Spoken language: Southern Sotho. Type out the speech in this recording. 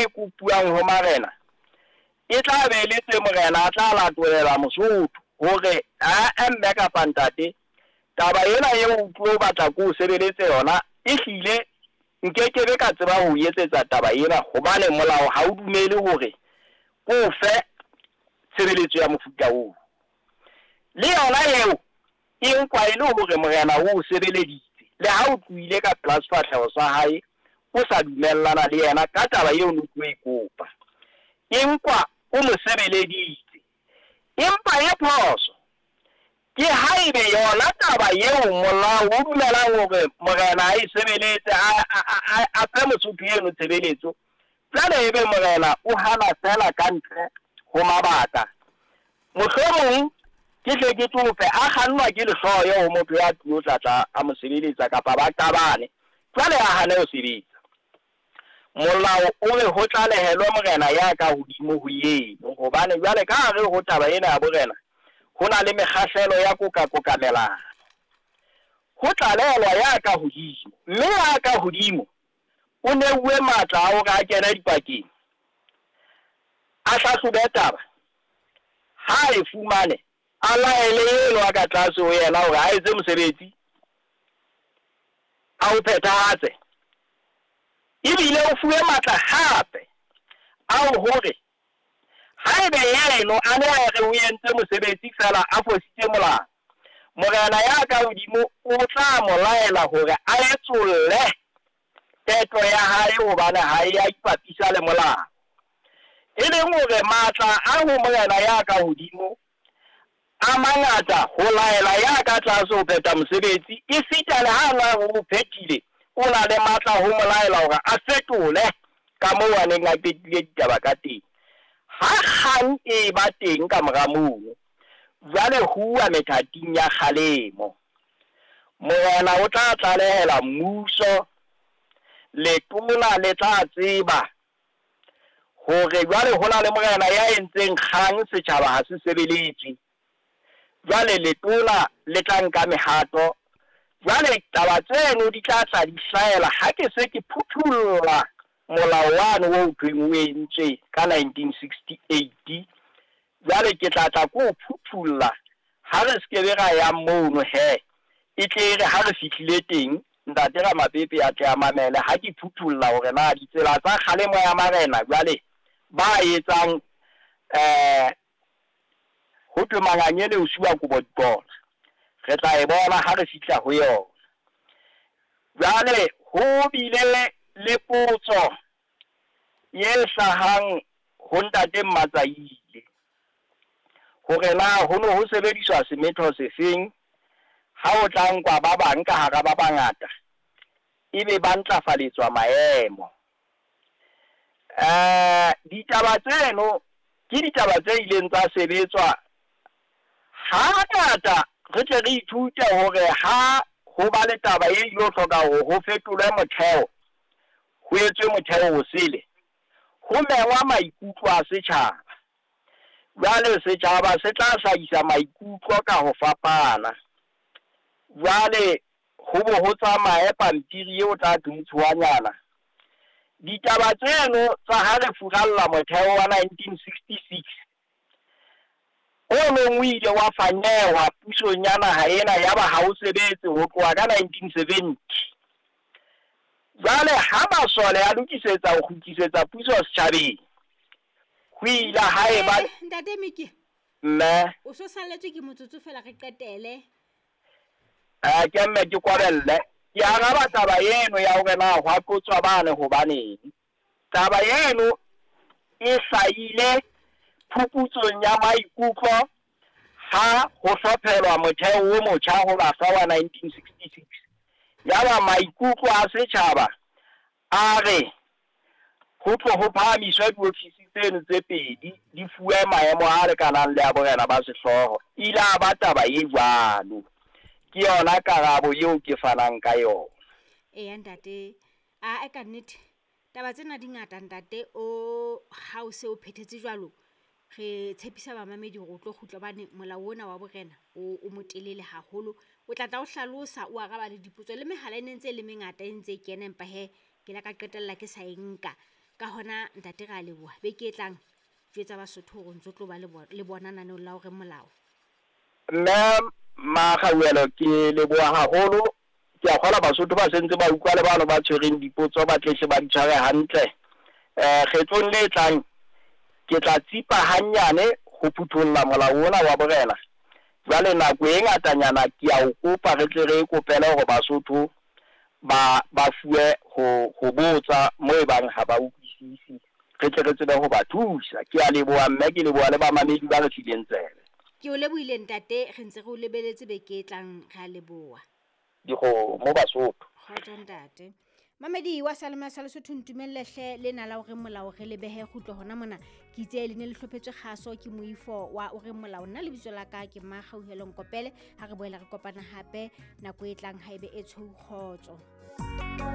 e kopuwang ho marena e tla be e le tse morena a tla latolela Mosotho hore ae mme kapa ntate, taba ena eo o tlo batla ko o sebeletse yona ehlile nkekebe ka tseba ho o etsetsa taba ena hobane molao ha o dumele hore ko o fe tshebeletso ya mofuta oo. Le yona eo e nkwa e le hore morena o o sebeleditse le ha o tlohile ka pela sefahleho sa hae o sa dumellana le yena ka taba eo no tlo e kopa. E nkwa o mo sebeleditse. Empa e phoso ke haebe yona taba eo molao o dumelang hore morena a e sebeletse, a fe Mosotho eno tshebeletso, jwale ebe morena o hana feela ka ntle ho mabaka. Mohlomong ke hle ke tsofe a kgannwa ke lehloyo ho motho ya tlilo tla tla a mo sebeletsa kapa ba qabane, jwale a hane ho sebetsa. Molao o re ho tlalehelwe morena ya ka hodimo ho eno, hobane jwale ka hare ho taba ena ya borena ho na le mekgahlelo ya koka-kokamelano. Ho tlalehelwa ya ka hodimo, mme ya ka hodimo o neuwe matla a hore a kene dipakeng, a hlahlobe taba, ha e fumane a laele eno a ka tlase ho yena hore a etse mosebetsi, a o phethahatse. Ebile o fuwe matla hape ao hore haebe yeno a ne a re o entse mosebetsi feela a fositse molao, morena ya ka hodimo o tla mo laela hore a etsolle qeto ya hae hobane ha e a ipapisa le molao. E leng hore matla a ho morena ya ka hodimo a mangata ho laela ya ka tlase ho phetha mosebetsi, esita le ha na o phethile o na le matla ho mo laela hore a fetole ka moo a neng a qetile ditaba ka teng. Ha kgang e ba teng ka mora mono, jwale ho uwa methating ya kgalemo. Morena o tla tlalehela mmuso, letona le tla tseba hore jwale ho na le morena ya entseng kgang, setjhaba ha se sebeletswe. Jwale letona le tla nka mehato. Jwale taba tseno di tla tla di hlahela ha ke se ke phuthulla molao wane o thweng o entswe ka 1968. Jwale ke tla tla ko o phuthulla ha re se ke be ra yang mono he, e tle re ha re fihlile teng ntate Ramapepe a tle a mamele ha ke phuthulla hore na ditsela tsa kgalemo ya marena jwale ba etsang ho thwe mangangele o siwa kobo diqola. Re tla e bona ha re fihla ho yona. Jwale ho bile le potso e hlahang ho ntate Mmatsaile hore na ho no ho sebediswa semetho sefeng ha o tla nkwa ba bang ka hara ba bangata ebe ba ntlafaletswa maemo. Ditaba tseno ke ditaba tse ileng tsa sebetswa hangata. Re tle re ithute hore ha ho ba le taba e ilo hloka hore ho fetolwe motheo, ho etswe motheo o sele, ho mengwa maikutlo a setjhaba. Jwale setjhaba se tla hlahisa maikutlo ka ho fapana. Jwale ho bo ho tsamaye pampiri eo tla thuntshuwanyana. Ditaba tseno tsa ha re furalla motheo wa 1966 o neng o ile wa fanyehwa pusong ya naha ena, yaba ha o sebetse ho tloha ka 1970. Jwale ha masole a lokisetsa ho kgutlisetsa puso setjhabeng, ho ile ha eba Ntate Miki, mme o so salletswe ke motsotso fela re qetele. Ke mme ke kwabelle. Ke araba taba eno ya hore na hwa qotswa bane hobaneng. Taba eno e hlahile phuputsong ya maikutlo ha ho hlophelwa motheo o motjha ho bafa wa 1966. Yaba maikutlo a setjhaba a re ho tlo ho phahamiswe diofisi tseno tse pedi di fuwe maemo a lekanang le a borena ba sehlooho. Ile a ba taba e jwalo. Ke yona karabo eo ke fanang ka yona. Eya ntate, a e ka nnete taba tsena di ngata ntate, o ha o se o phethetse jwalo, re tshepisa bamamedi hore o tlo kgutla hobane molao ona wa borena o motelele haholo. O tla tla o hlalosa, o araba le dipotso le mehala e ne ntse e le mengata e ntse e kena, empa he ke la ka qetella ke sa e nka. Ka hona ntate re a leboha. Beke e tlang jwetsa Basotho hore o ntso tlo ba le bona naneong la hore molao. Mme Makgauhelo, ke leboha haholo. Ke a kgolwa Basotho ba sentse ba utlwa le bano ba tshwereng dipotso ba tlehle ba di tshware hantle. Kgetlong le tlang ke tla tsipa hannyane ho phutholla molao ona wa borena. Jwale nako e ngatanyana ke a o kopa re tle re e kopele hore Basotho ba ba fuwe ho botsa mo e bang ha ba utlwisisi, re tle re tsebe ho ba thusa. Ke a leboha mme, ke leboha le bamamedi ba re fileng tsebe. Ke o lebohile ntate, re ntse re o lebeletse beke e tlang, re a leboha. Dikgomo Basotho. Kgotso ntate. Mamedi wa Salema sa Lesotho, ntumelle hle lena la hore molao re lebehe kgutlo hona mona. Ke itse le ne le hlophetswe kgaso ke moifo wa o reng molao. Nna lebitso la ka ke Makgauhelo Nkopele. Ha re boela re kopana hape nako e tlang haebe e tshweu, kgotso.